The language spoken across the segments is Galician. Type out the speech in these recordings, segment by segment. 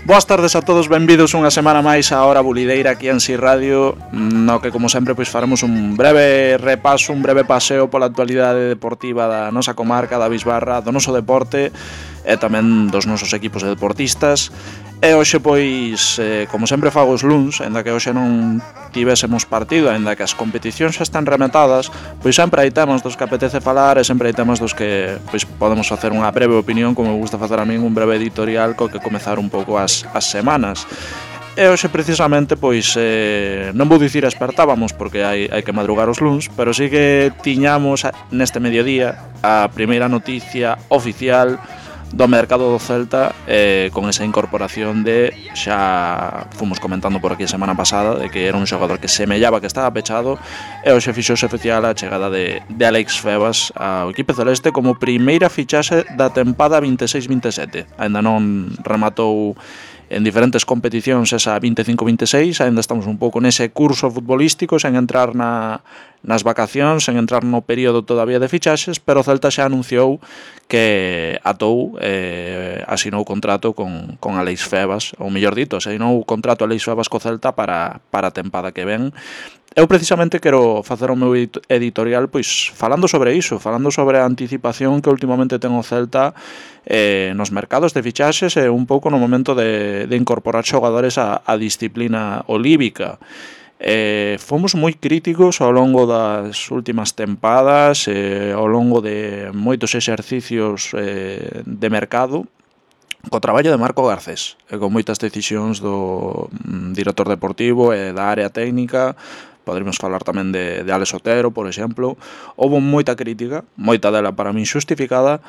Boas tardes a todos, benvidos unha semana máis a Hora Bulideira aquí en Si Radio, no que como sempre pois faremos un breve repaso, un breve paseo pola actualidade deportiva da nosa comarca, da Bisbarra, do noso deporte e tamén dos nosos equipos de deportistas. E hoxe pois, como sempre fago os luns, ainda que hoxe non tivésemos partido, ainda que as competicións xa están rematadas, pois sempre hai temas dos que apetece falar e sempre hai temas dos que pois podemos facer unha breve opinión, como me gusta facer a min, un breve editorial co que comezar un pouco as semanas. E hoxe precisamente pois non vou dicir espertábamos porque hai que madrugar os luns, pero sí que tiñamos neste mediodía a primeira noticia oficial do mercado do Celta, con esa incorporación de, xa fomos comentando por aquí a semana pasada, de que era un xogador que semellaba que estaba pechado, e hoxe fixouse oficial a chegada de Alex Febas ao equipo celeste como primeira fichaxe da tempada 26-27. Ainda non rematou en diferentes competicións esa 25-26, ainda estamos un pouco nese curso futbolístico, sen entrar nas vacacións, sen entrar no período todavía de fichaxes, pero o Celta xa anunciou que atou, asinou contrato con Alex Febas, ou mellor dito, asinou contrato Alex Febas co Celta para a tempada que ven. Eu precisamente quero facer o meu editorial pois falando sobre iso, falando sobre a anticipación que últimamente ten o Celta nos mercados de fichaxes e un pouco no momento de incorporar xogadores á disciplina olívica. Fomos moi críticos ao longo das últimas tempadas, ao longo de moitos exercicios de mercado, co traballo de Marco Garcés, e con moitas decisións do director deportivo e da área técnica. Poderíamos falar tamén de Alex Otero, por exemplo. Houve moita crítica, moita dela para min xustificada,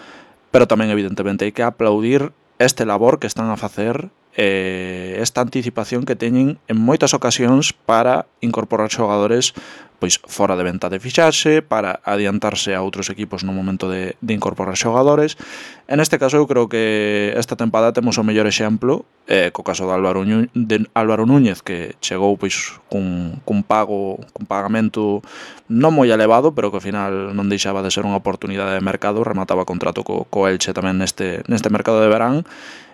pero tamén evidentemente hai que aplaudir este labor que están a facer, esta anticipación que teñen en moitas ocasións para incorporar xogadores pois fora de venta de fichaxe, para adiantarse a outros equipos no momento de incorporar xogadores. En este caso eu creo que esta tempada temos o mellor exemplo, co caso de Álvaro Núñez, que chegou pois cun pagamento non moi elevado, pero que ao final non deixaba de ser unha oportunidade de mercado, remataba contrato co Elche tamén neste mercado de verán.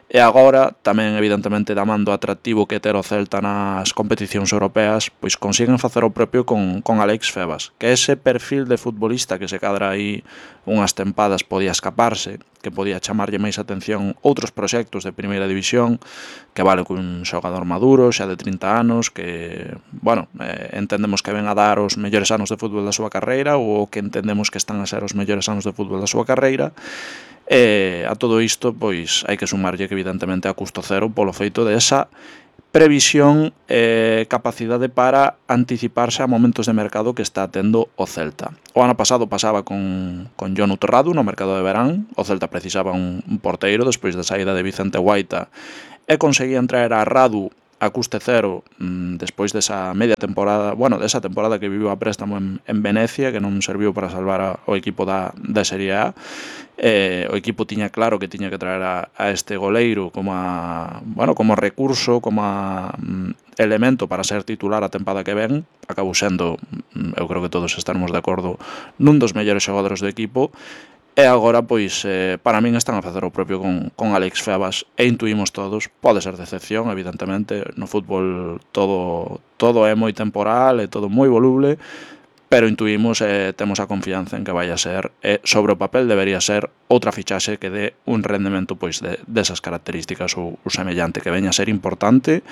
E agora, tamén evidentemente da man do atractivo que ter o Celta nas competicións europeas, pois consiguen facer o propio con Alex Febas, que ese perfil de futbolista que se cadra aí unhas tempadas podía escaparse, que podía chamarlle máis atención outros proxectos de primeira división, que vale cun xogador maduro, xa de 30 anos, que, bueno, entendemos que ven a dar os mellores anos de fútbol da súa carreira, ou que entendemos que están a ser os mellores anos de fútbol da súa carreira. A todo isto, pois, hai que sumarlle que evidentemente a custo cero polo feito de esa previsión e capacidade para anticiparse a momentos de mercado que está tendo o Celta. O ano pasado pasaba con Jonu Torrado no mercado de verán. O Celta precisaba un porteiro despois da saída de Vicente Guaita e conseguían traer a Radu a custe cero despois desa media temporada, bueno, desa temporada que viviu a préstamo en Venecia, que non serviu para salvar o equipo da Serie A. O equipo tiña claro que tiña que traer a este goleiro como recurso, como elemento para ser titular a tempada que ven. Acabou sendo, eu creo que todos estaremos de acordo, nun dos mellores xogadores do equipo. E agora, pois, para min están a facer o propio con Alex Febas, e intuímos todos, pode ser decepción, evidentemente, no fútbol todo é moi temporal, é todo moi voluble, pero intuímos e temos a confianza en que vai a ser, sobre o papel debería ser outra fichaxe que dé un rendemento pois desas características ou semellante, que veña a ser importante,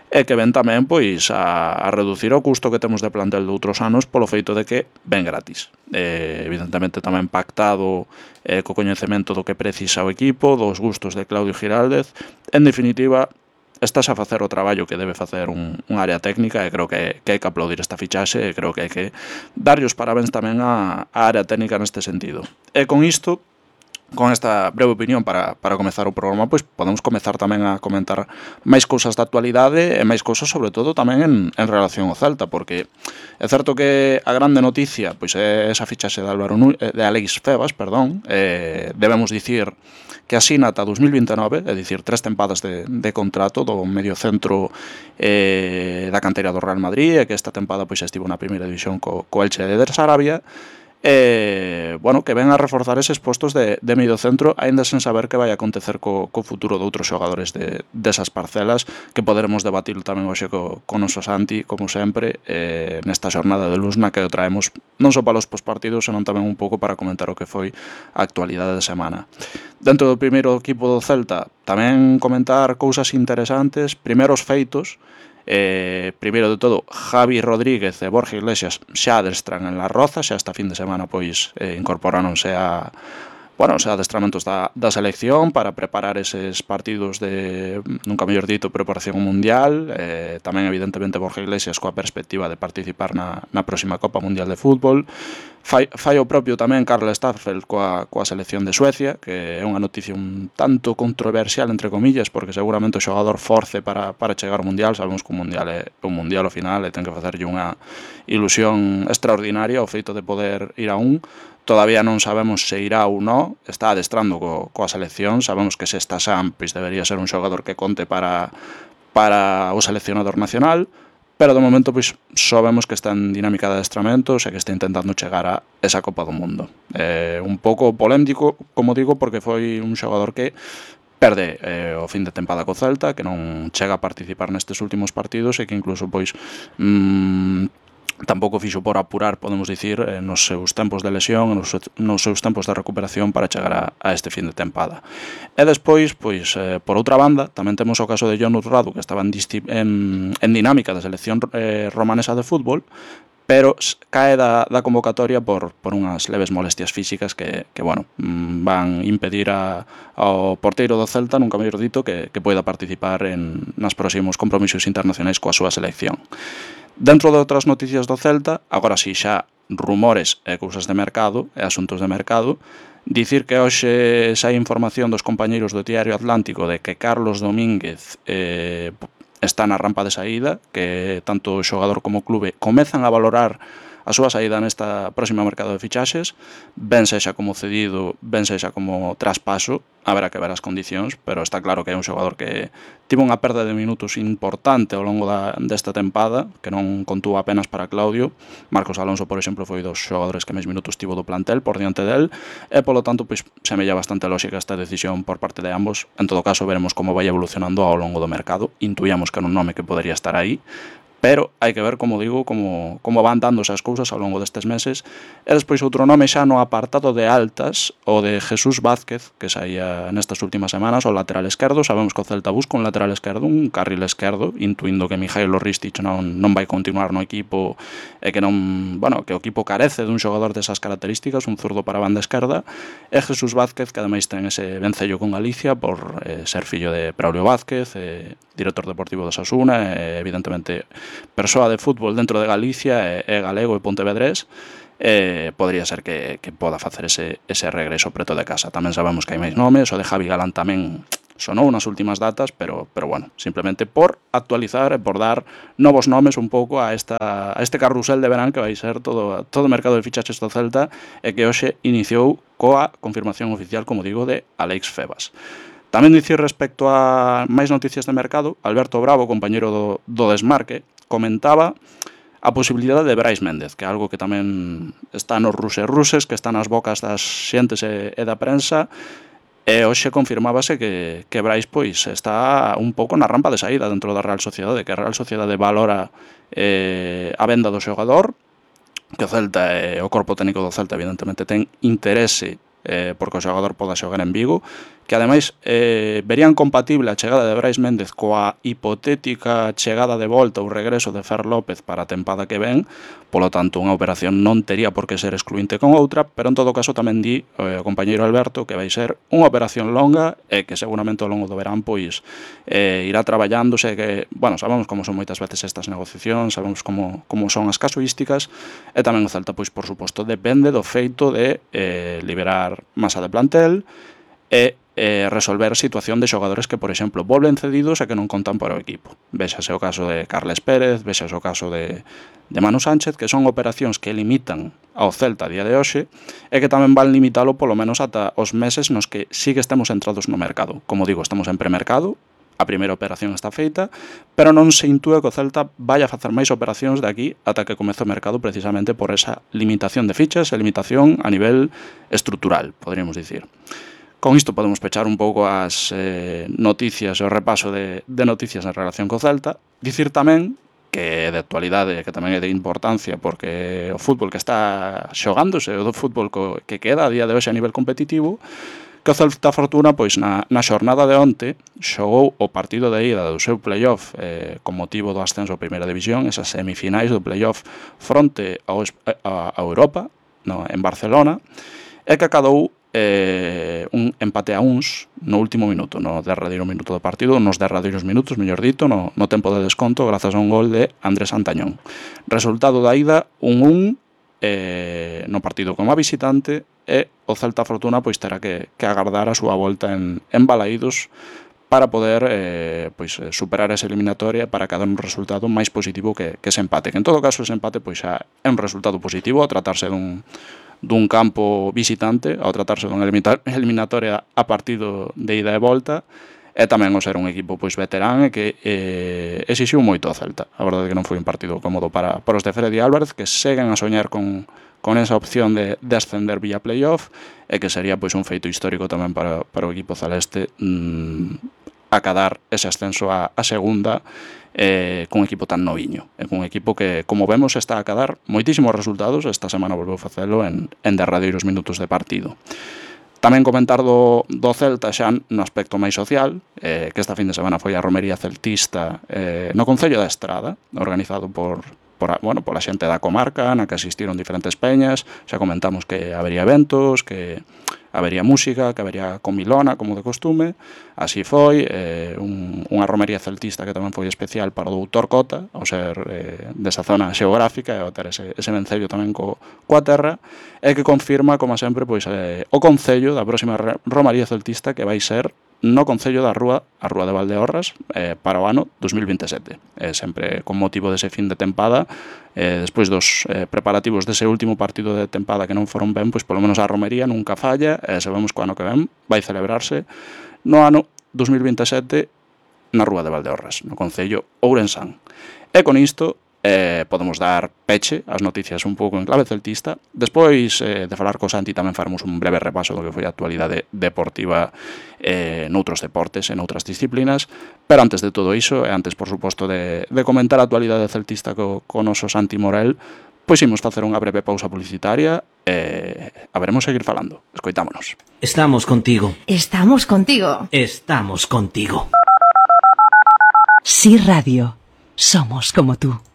e que ven tamén pois a reducir o custo que temos de plantel de outros anos polo feito de que ven gratis. Evidentemente tamén pactado co coñecemento do que precisa o equipo, dos gustos de Claudio Giraldez. En definitiva, estás a facer o traballo que debe facer un área técnica, e creo que hai que aplaudir esta fichaxe, e creo que hai que darlle os parabéns tamén á área técnica neste sentido. E con isto, con esta breve opinión para comezar o programa, pois podemos comezar tamén a comentar máis cousas da actualidade e máis cousas sobre todo tamén en relación ao Celta, porque é certo que a grande noticia pois é esa fichaxe de Alex Febas, debemos dicir que asina ata 2029, é dicir, 3 tempadas de contrato do medio centro da canteira do Real Madrid, e que esta tempada pois estivo na primeira división co Elche de Sarabia. bueno, que ven a reforzar eses postos de medio centro, aínda sen saber que vai acontecer co futuro de outros xogadores desas parcelas, que poderemos debatir tamén hoxe co noso Santi, como sempre, nesta xornada de Lusna, que o traemos non só para os pospartidos, senón tamén un pouco para comentar o que foi a actualidade de semana. Dentro do primeiro equipo do Celta, tamén comentar cousas interesantes, primeiros feitos. Primeiro de todo, Javi Rodríguez e Borja Iglesias xa adestran en La Roza, xa esta fin de semana pois incorporáronse os adestramentos da selección para preparar eses partidos de, nunca mellor dito, preparación mundial, tamén evidentemente Borja Iglesias coa perspectiva de participar na próxima Copa Mundial de Fútbol. Fai o propio tamén Karl Starfelt coa selección de Suecia, que é unha noticia un tanto controversial, entre comillas, porque seguramente o xogador force para chegar ao Mundial. Sabemos que un Mundial é un Mundial ao final e ten que facerlle unha ilusión extraordinaria o feito de poder ir a un. Todavía non sabemos se irá ou non, está adestrando coa selección, sabemos que se está Sam, pois debería ser un xogador que conte para o seleccionador nacional, pero de momento pois só vemos que está en dinámica de adestramentos e que está intentando chegar a esa Copa do Mundo. Un pouco polémico, como digo, porque foi un xogador que perde o fin de tempada co Celta, que non chega a participar nestes últimos partidos e que incluso pois tampouco fixo por apurar, podemos dicir, nos seus tempos de lesión, nos seus tempos de recuperación para chegar a este fin de tempada. E despois, pois, por outra banda, tamén temos o caso de Jon Urradu, que estaba en dinámica da selección romanesa de fútbol, pero cae da convocatoria por unhas leves molestias físicas que bueno, van impedir ao porteiro do Celta, nunca mellor dito, que poida participar nas próximos compromisos internacionais coa súa selección. Dentro de outras noticias do Celta, agora si xa rumores e cousas de mercado e asuntos de mercado, dicir que hoxe sai información dos compañeiros do Diario Atlántico de que Carlos Domínguez está na rampa de saída, que tanto o xogador como o clube comezan a valorar a súa saída nesta próxima mercado de fichaxes, ben sexa como cedido, ben sexa como traspaso, haberá que ver as condicións, pero está claro que é un xogador que tivo unha perda de minutos importante ao longo desta tempada, que non contúa apenas para Claudio. Marcos Alonso, por exemplo, foi dos xogadores que máis minutos tivo do plantel por diante del, e polo tanto, pois, semella bastante lógica esta decisión por parte de ambos. En todo caso, veremos como vai evolucionando ao longo do mercado. Intuíamos que era un nome que podería estar aí, pero hai que ver, como digo, como van dándose as cousas ao longo destes meses. E despois outro nome xa no apartado de altas, o de Jesús Vázquez, que saía nestas últimas semanas, o lateral esquerdo. Sabemos que o Celta busca un lateral esquerdo, un carril esquerdo, intuindo que Mijailo Ristic non vai continuar no equipo e que que o equipo carece dun xogador desas características, un zurdo para a banda esquerda. E Jesús Vázquez, que ademais ten ese vencello con Galicia por ser fillo de Braulio Vázquez, director deportivo do Osasuna, e evidentemente persoa de fútbol dentro de Galicia, é galego e pontevedrés, podría ser que poda facer ese regreso preto de casa. Tamén sabemos que hai máis nomes, o de Javi Galán tamén sonou nas últimas datas, pero bueno, simplemente por actualizar e por dar novos nomes un pouco a este carrusel de verán que vai ser todo o mercado de fichaches do Celta, e que hoxe iniciou coa confirmación oficial, como digo, de Alex Febas. Tamén dicir respecto a máis noticias de mercado, Alberto Bravo, compañeiro do Desmarque, comentaba a posibilidade de Brais Méndez, que é algo que tamén está nos ruses, que está nas bocas das xentes e da prensa, e hoxe confirmábase que Brais pois está un pouco na rampa de saída dentro da Real Sociedade, que a Real Sociedade valora a venda do xogador, que o Celta e o corpo técnico do Celta evidentemente ten interese porque o xogador poda xogar en Vigo, que ademais verían compatible a chegada de Brais Méndez coa hipotética chegada de volta ou regreso de Fer López para a tempada que ven. Polo tanto, unha operación non tería por que ser excluinte con outra, pero en todo caso tamén di o compañeiro Alberto que vai ser unha operación longa e que seguramente ao longo do verán pois irá traballándose, que, bueno, sabemos como son moitas veces estas negociacións, sabemos como son as casuísticas, e tamén o Celta, pois, por suposto, depende do feito de liberar masa de plantel e resolver situación de xogadores que, por exemplo, volven cedidos e que non contan para o equipo. Vexase o caso de Carles Pérez, vexase o caso de Manu Sánchez, que son operacións que limitan ao Celta a día de hoxe e que tamén van limitalo polo menos ata os meses nos que sí que estamos entrados no mercado. Como digo, estamos en premercado, a primeira operación está feita, pero non se intúe que o Celta vai a facer máis operacións de aquí ata que comece o mercado precisamente por esa limitación de fichas e limitación a nivel estrutural, poderíamos dicir. Con isto podemos pechar un pouco as noticias e o repaso de noticias en relación co Celta. Dicir tamén que é de actualidade, que tamén é de importancia, porque o fútbol que está xogándose, o do fútbol que queda a día de hoxe a nivel competitivo, que o Celta Fortuna, pois na xornada de onte, xogou o partido de ida do seu playoff con motivo do ascenso a primeira división, esas semifinais do playoff fronte a Europa, en Barcelona, e que acadou un empate a uns no último minuto, no derradeiro minuto do partido, nos derradeiros minutos, mellor dito, no tempo de desconto, grazas a un gol de Andrés Antañón. Resultado da ida, 1-1 no partido como a visitante, e o Celta Fortuna pois terá que agardar a súa volta en Balaídos para poder superar esa eliminatoria, para que dar un resultado máis positivo que ese empate. Que en todo caso ese empate pois xa é un resultado positivo a tratarse dun campo visitante, ao tratarse dunha eliminatoria a partido de ida e volta, e tamén o ser un equipo pois veterán e que exixiu moito ao Celta. A verdade é que non foi un partido cómodo para os de Freddy Álvarez, que seguen a soñar con esa opción de ascender vía playoff, e que sería pois un feito histórico tamén para o equipo celeste acadar ese ascenso a segunda cun equipo tan noviño, cun equipo que, como vemos, está a acadar moitísimos resultados. Esta semana volveu facelo en derradeiros minutos de partido. Tamén comentar do Celta xa no aspecto máis social, que esta fin de semana foi a romería celtista no Concello da Estrada, organizado por a xente da comarca, na que asistiron diferentes peñas. Xa comentamos que habería eventos, que habería música, que habería comilona, como de costume. Así foi, unha romería celtista que tamén foi especial para o doutor Cota, ao ser desa zona xeográfica e ao ter ese vencello tamén coa terra, e que confirma, como sempre, pois o concello da próxima romería celtista, que vai ser no Concello da Rúa, a Rúa de Valdeorras, para o ano 2027. Sempre con motivo dese fin de tempada, despois dos preparativos dese último partido de tempada que non foron ben, pois polo menos a romería nunca falla, e sabemos que o ano que ven vai celebrarse no ano 2027 na Rúa de Valdeorras, no Concello Ourensán. E con isto podemos dar peche ás noticias un pouco en clave celtista. Despois de falar co Santi tamén faremos un breve repaso do que foi a actualidade deportiva noutros deportes e noutras disciplinas, pero antes de todo iso, e antes por suposto de comentar a actualidade celtista co noso Santi Morel, pois imos facer unha breve pausa publicitaria e haberemos seguir falando. Escoitámonos. Estamos contigo. Estamos contigo. Estamos contigo. Sí Radio. Somos como tú.